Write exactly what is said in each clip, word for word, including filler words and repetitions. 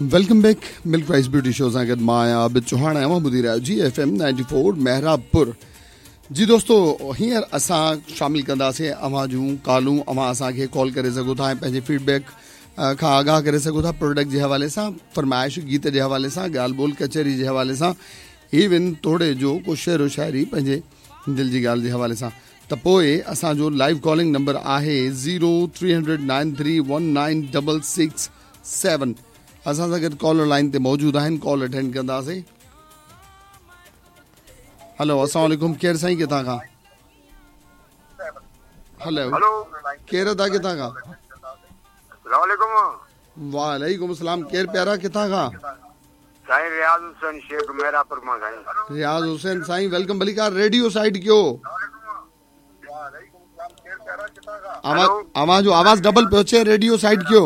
Welcome back Milk Rice Beauty Show सां गॾु मां आहियां आबिद चौहान ऐं अव्हां ॿुधी रहिया आहियो G F M ninety four Mehrabpur. जी दोस्तो, हींअर असां शामिल कंदासीं अव्हां जूं कॉलूं। अव्हां असांखे कॉल करे सघो था ऐं पंहिंजे फीडबैक खां आगाह करे सघो था प्रोडक्ट जे हवाले सां, फरमाइश गीत जे हवाले सां, ॻाल्हि ॿोल कचहरी जे हवाले सां, इवन तोड़े जो को शेर व शाइरी पंहिंजे दिलि जी ॻाल्हि जे हवाले सां। त पोइ असांजो लाइव कॉलिंग नंबर आहे zero three hundred nine three one nine double six seven. असां सां गॾु कॉलर लाइन ते मौजूदु आहिनि, कॉल अटेंड कंदासीं। हेलो, अस्सलाम वालेकुम। केरु साईं, किथां खां? हेलो, केरु अदा, किथां खां? वालेकुम अस्सलाम। केरु प्यारा, किथां खां? साईं रियाज़ हुसैन शेख मेहरापुर मां। साईं रियाज़ हुसैन साईं, welcome. भलीकार रेडियो साइड कयो। आवाज़ आवाज़ जो आवाज़ डबल पियो अचे, रेडियो साइड कयो।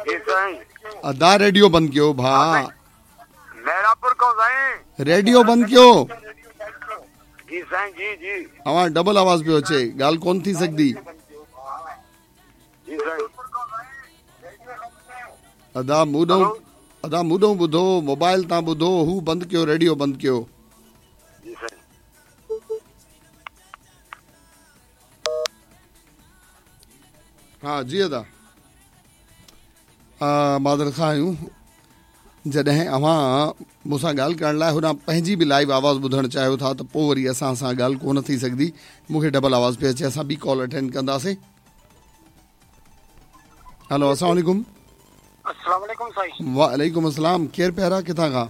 जी साईं। अदा रेडियो बंद कयो भा। मेहरापुर को साईं रेडियो बंद कयो। जी साईं, जी जी। अवां डबल आवाज़ पियो अचे, ॻाल्हि कोन थी सघंदी। जी साईं। अदा मूं ॾांहुं अदा मूं ॾांहुं ॿुधो, मोबाइल तां ॿुधो, हू बंदि कयो, रेडियो बंदि कयो। जी साईं। हा जी अदा, मादर खां आहियूं। जॾहिं अव्हां मूंसां ॻाल्हि करण लाइ होॾां पंहिंजी बि लाइव आवाज़ ॿुधणु चाहियो था त पोइ वरी असां सां ॻाल्हि कोन थी सघंदी। मूंखे डबल आवाज़ पियो अचे। असां ॿी कॉल अटेंड कंदासीं। हेलो, अस्सलाम वालेकुम। अस्सलाम वालेकुम साईं। वालेकुम अस्सलाम। केरु प्यारा, किथां खां?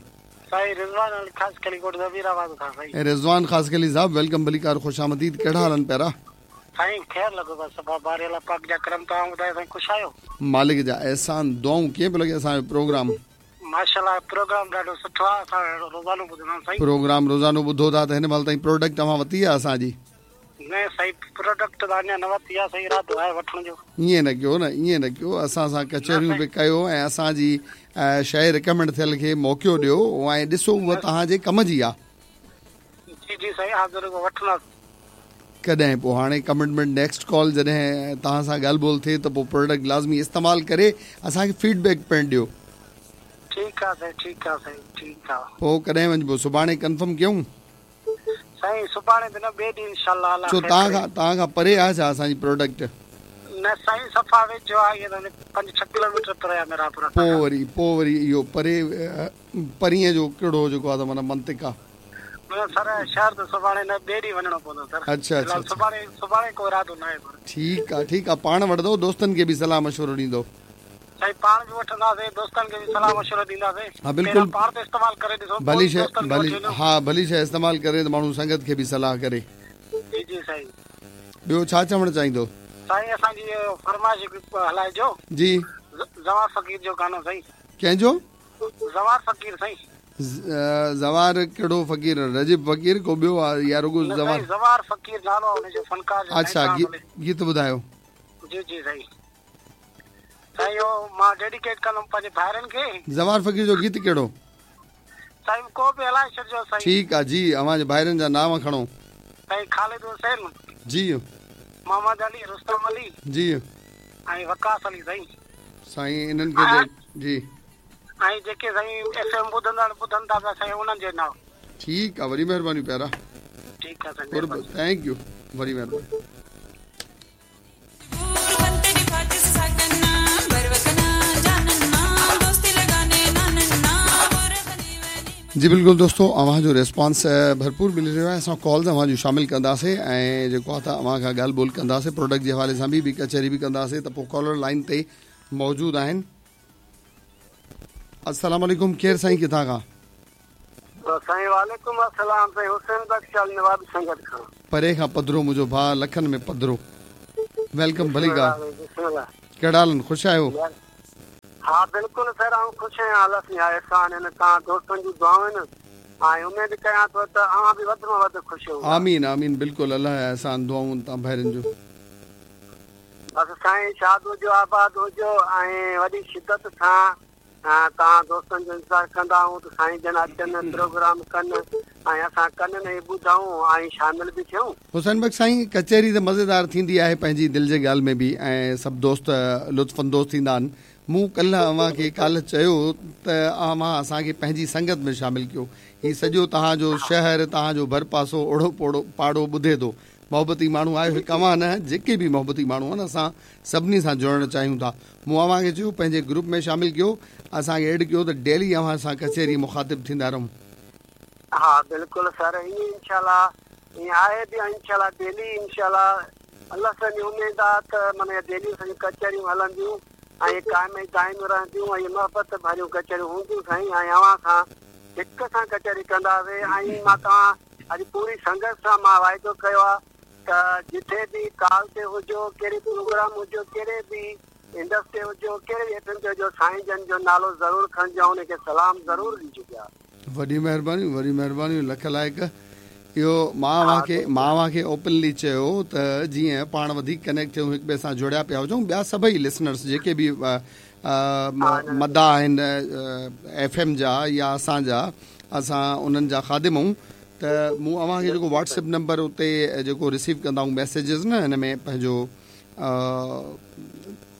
साईं रिज़वान अली खासखली कोट ज़मीराबाद खां साईं। रिज़वान खासखली साहब, welcome, भलीकार, ख़ुशामदीद। कहिड़ा हाल आहिनि प्यारा? साईं ख़ैर लॻो बसि, सफ़ा बारी अलाह पाक जा करम। तव्हां ॿुधायो साईं, ख़ुशि आहियो? मालिक जा एहसान, दुआऊं। कीअं पियो लॻे असांजो प्रोग्राम? माशाअल्लाह, प्रोग्राम ॾाढो सुठो आहे, असां रोज़ानो ॿुधंदा आहियूं साईं। प्रोग्राम रोज़ानो ॿुधो था त हिन महिल ताईं प्रोडक्ट अव्हां वरिती आहे असांजी? न साईं, प्रोडक्ट त अञा न वरिती आहे साईं, इरादो आहे वठण जो। ईअं न कयो न, ईअं न कयो। असां सां कचहरियूं बि कयो ऐं असांजी शइ रिकमेंड थियल खे मौक़ो ॾियो ऐं ॾिसो उहा तव्हांजे कम जी आहे। जी जी साईं, हाज़िर वठंदासीं। कॾहिं पोइ हाणे कमिटमेंट, नेक्स्ट कॉल जॾहिं तव्हां सां ॻाल्हि ॿोल थिए त पोइ प्रोडक्ट लाज़मी इस्तेमालु करे असांखे फीडबैक पिणु ॾियो। ठीकु आहे साईं, ठीकु आहे साईं, ठीकु आहे। पोइ कॾहिं वञिबो? सुभाणे कन्फर्म कयूं? साईं सुभाणे त न, ॿिए ॾींहुं इंशाअल्लाह। छो तव्हां खां तव्हां खां परे आहे छा असांजी प्रोडक्ट? न साईं, सफ़ा वेझो आहे, ईअं पंज छह किलोमीटर परे आहे मेहरापुर। पोइ वरी पोइ वरी इहो परे परींअ जो कहिड़ो जेको आहे त माना मंतिक आहे? सर शहर त सुभाणे न, ॿिए ॾींहुं वञिणो पवंदो सर। अच्छा अच्छा, सुभाणे सुभाणे को इरादो न आहे। ठीकु आहे, ठीकु आहे। पाण वठंदो, दोस्तनि खे बि सलाह मशवरो ॾींदो? साईं पाण बि वठंदासीं, दोस्तनि खे बि सलाह मशवरो ॾींदासीं। हा बिल्कुलु, पाण त इस्तेमालु करे ॾिसो। भली शइ भली, हा भली शइ इस्तेमालु करे त माण्हू संगत खे बि सलाह करे। जी जी साईं। ॿियो छा चवणु चाहींदो? साईं असांजी फरमाइश हलाइजो। जी, ज़वार फ़क़ीर जो गानो साईं। कंहिंजो? ज़वार फ़क़ीर साईं। ज़वार कहिड़ो फ़क़ीर? रजब फ़क़ीर को ॿियो आहे या रुगो ज़वार? ज़वार फ़क़ीर नालो आहे हुनजो, फनकार जो। अच्छा, गीत ॿुधायो। जी जी साईं। साईं इहो मां डेडिकेट कंदुमि पंहिंजे भाइरनि खे। ज़वार फ़क़ीर जो गीत कहिड़ो? साईं को बि हलाए छॾिजो साईं। ठीकु आहे जी, अव्हांजे भाइरनि जा नाम खणो। साईं खालिद हुसैन जी, मोहम्मद अली, रुस्तम अली जी ऐं वकास अली साईं। साईं इन्हनि खे जी ऐं जेके साईं एफ एम ॿुधंदा ॿुधनि था पिया साईं उन्हनि जे नाम। ठीकु आहे, वॾी महिरबानी प्यारा। ठीकु आहे साईं, thank you, वॾी महिरबानी। जी बिल्कुलु दोस्तो, अव्हांजो रिस्पॉन्स भरपूर मिली रहियो आहे। असां कॉल्स अव्हांजो शामिल कंदासीं ऐं जेको आहे त अव्हां खां ॻाल्हि ॿोल कंदासीं, प्रोडक्ट जे हवाले सां बि ॿी कचहरी बि कंदासीं। त पोइ कॉलर लाइन ते मौजूदु आहिनि। अस्सलाम वालेकुम। केरु साईं, किथां खां? साईं वालेकुम अस्सलाम। साईं हुसैन बख्श नवाब संगत खां। परे खां पधरो मुंहिंजो भाउ, लखनि में पधरो। Welcome, भलीकार। कहिड़ा हाल आहिनि? ख़ुशि आहियो? हा बिल्कुलु सर, आउं ख़ुशि आहियां। अलाह साईं एहसान आहिनि, तव्हां दोस्तनि जूं दुआऊं आहिनि ऐं उमेद कयां थो त अव्हां बि वधि में वधि ख़ुशि हूंदा। आमीन आमीन, बिल्कुलु, अलाह जा एहसान, दुआऊं तव्हां भाइरनि जो। बसि साईं शाद हुजो, आबाद हुजो ऐं वॾी शिदत सां तव्हां दोस्तनि जो इंतज़ारु कंदा आहियूं त साईं जन अचनि, प्रोग्राम कनि ऐं असां कन में ॿुधूं ऐं शामिल बि थियूं। हुसैन बख्श साईं, कचहरी त मज़ेदार थींदी आहे पंहिंजी दिलि जे ॻाल्हि में बि ऐं सभु दोस्त लुत्फ़ अंदोज़ थींदा आहिनि। मूं कल्ह अव्हांखे काल्ह चयो त अव्हां असांखे पंहिंजी संगत में शामिल कयो। हीउ सॼो तव्हांजो शहर, तव्हांजो भरपासो, ओड़ो पोड़ो पाड़ो ॿुधे थो। मोहबती माण्हू आहियो, हिकु अव्हां न, जेके बि मोहबती माण्हू आहिनि, असां सभिनी सां जुड़णु चाहियूं था। मूं अव्हांखे चयो पंहिंजे ग्रुप में शामिल कयो, असांखे एड कयो त डेली अव्हां सां कचहरी मुखातिब थींदा रहूं। हा बिल्कुलु सर, ईअं इंशाल्लाह ईअं आहे बि, इंशाल्लाह डेली इंशाल्लाह अलाह सां उमेद आहे त माना डेली असांजूं कचहरियूं हलंदियूं ऐं काइम दाइम रहंदियूं ऐं मोहबत भरियूं कचहरियूं हूंदियूं साईं। ऐं अव्हां सां हिक सां कचहरी कंदासीं। ऐं मां तव्हां अॼु पूरी संगत सां मां वाइदो कयो आहे त जिथे बि कॉल ते हुजो, कहिड़े प्रोग्राम हुजो, कहिड़े बि इंडस्ट्री हुजो, कहिड़े बि एफ एम ते हुजो, साईं जन जो नालो ज़रूरु खणिजो, उनखे सलाम ज़रूरु ॾिजो पिया। वॾी महिरबानी, वॾी महिरबानी, लख लाइक़। इहो मां अव्हांखे मां अव्हांखे ओपनली चयो त जीअं पाण वधीक कनेक्ट थियूं, हिक ॿिए सां जुड़िया पिया हुजूं। ॿिया सभई लिसनर्स जेके बि मदा आहिनि एफ एम जा या असांजा, असां उन्हनि जा ख़ादिम आहियूं। त मूं अव्हांखे जेको व्हाट्सएप नंबर उते जेको रिसीव कंदा आहियूं मैसेजिस न, हिन में पंहिंजो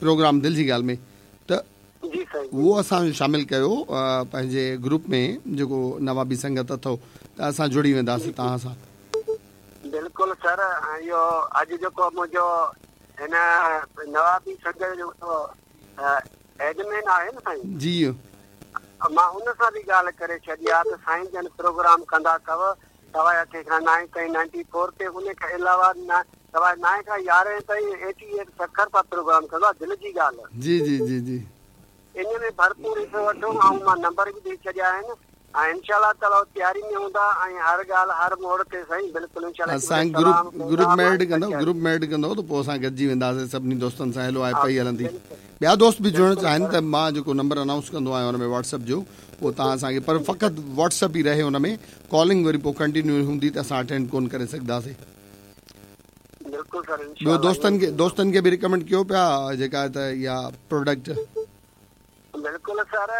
प्रोग्राम दिलि जी ॻाल्हि में, त उहो असांजो शामिल कयो पंहिंजे ग्रुप में, जेको नवाबी संगत अथव, त असां जुड़ी वेंदासीं तव्हां सां। बिल्कुलु सर, इहो अॼु जेको मुंहिंजो हिन नवाबी संगत जो एडमिन आहे न साईं जी, मां उन सां बि ॻाल्हि करे छॾी आहे त साईं जन प्रोग्राम कंदा अथव सवा अठे खां नाइन ताईं नाइंटी फोर ते, उन खां अलावा सवा नाइन खां यारहें ताईं एटी एट सखर सां प्रोग्राम कंदो आहे। दिलि जी ॻाल्हि जी जी जी जी, इन में भरपूर हिसो वठो। ऐं मां नंबर बि ॾेई छॾिया आहिनि ऐं इंशाल्लाह ताला तयारी में हूंदा ऐं हर ॻाल्हि हर मोड़ ते साईं बिल्कुलु इंशाल्लाह। असां ग्रुप ग्रुप में एड कंदो, ग्रुप में एड कंदो त पोइ असां गॾिजी वेंदासीं सभिनी दोस्तनि सां। हेलो आहे पई हलंदी। ॿिया दोस्त बि जुड़णु चाहिनि त मां जेको नंबर अनाउंस कंदो आहियां हुन में व्हाट्सएप जो, उहो तव्हां असांखे, पर फ़क़ति व्हाट्सएप ई रहे हुन में, कॉलिंग वरी पोइ कंटिन्यू हूंदी त असां अटेंड कोन करे सघंदासीं। बिल्कुलु सर, ॿियो दोस्तनि खे दोस्तनि खे बि रिकमेंड कयो पिया जेका त इहा प्रोडक्ट। बिल्कुलु सर,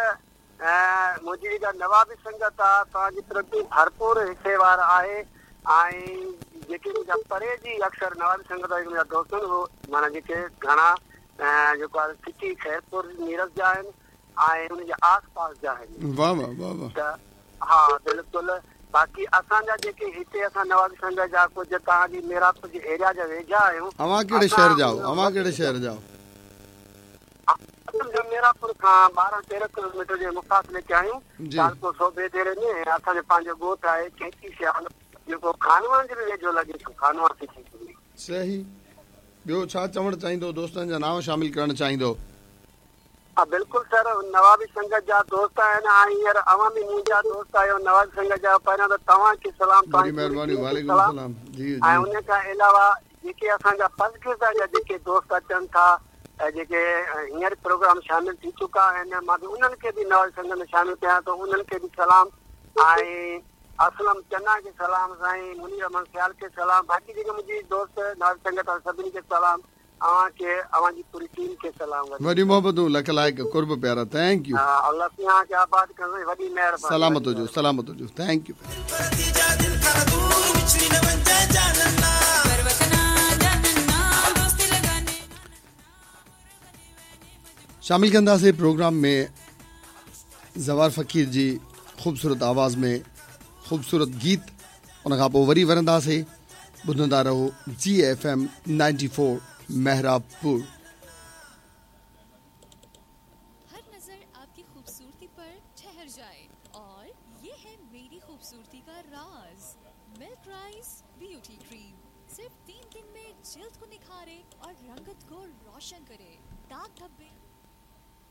मुंहिंजी जेका नवाबी संगत आहे तव्हांजी प्रति भरपूर हिसेवार आहे। ऐं जेके मुंहिंजा परे जी अक्सर नवाबी संगत वारा मुंहिंजा दोस्त आहिनि, उहो माना जेके घणा जेको आहे सिटी ख़ैरपुर नीरज जा आहिनि ऐं उनजे आस पास जा आहिनि। वाह वाह वाह वाह। त हा बिल्कुलु। बाक़ी असांजा जेके हिते असां नवाबी संगत जा कुझु तव्हांजी मेरापुर जे एरिया जा वेझा आहियूं। अव्हां कहिड़े शहर जा आहियो? अव्हां कहिड़े शहर जा आहियो? मेरापुर खां ॿारहं तेरहं किलोमीटर जे मुफ़ासिले ते आहियूं, तालुको सोबे देरे में। असांजो पंहिंजो ॻोठु आहे चेची सियाल, जेको खानवान जे बि वेझो लॻे थो, खानवान सिटी। सही। ॿियो छा चवणु चाहींदो? दोस्तनि जा नांव शामिल करणु चाहींदो? हा बिल्कुलु सर, नवाबी संगत जा दोस्त आहिनि ऐं हींअर अव्हां बि मुंहिंजा दोस्त आहियो नवाबी संगत जा। पहिरियां त तव्हांखे सलाम, महिरबानी, वालेकुम सलाम जी। ऐं उन खां अलावा जेके असांजा पसगिर्दा जा जेके दोस्त अचनि था, जेके हींअर प्रोग्राम शामिल थी चुका आहिनि, मां बि उन्हनि खे बि नवाबी संगत में शामिल कयां थो, उन्हनि खे बि सलाम। ऐं असलम चन्ना खे सलाम, साईं मुनीर अहमद सियाल खे सलाम, बाक़ी जेके मुंहिंजी दोस्त नवाबी संगत सभिनी खे सलाम, अव्हांखे अव्हांजी पूरी टीम खे सलाम। वॾी मोहबतूं, लख लाइक़, क़ुर्ब प्यारा, thank you. अलाह तव्हांखे आबाद कंदो, वॾी महिरबानी। सलामत हुजो, सलामत हुजो, thank you. शामिल कंदासीं प्रोग्राम में ज़वार फ़क़ीर जी ख़ूबसूरत आवाज़ में ख़ूबसूरत गीत, उन खां पोइ वरी वरंदासीं। ॿुधंदा रहो G F M ninety four Mehrabpur. हर नजर आपकी खूबसूरती पर ठहर जाए और ये है मेरी खूबसूरती का राज, मिल्क राइस ब्यूटी क्रीम। सिर्फ तीन दिन में जिल्द को निखारे और रंगत को रोशन करे। दाग धब्बे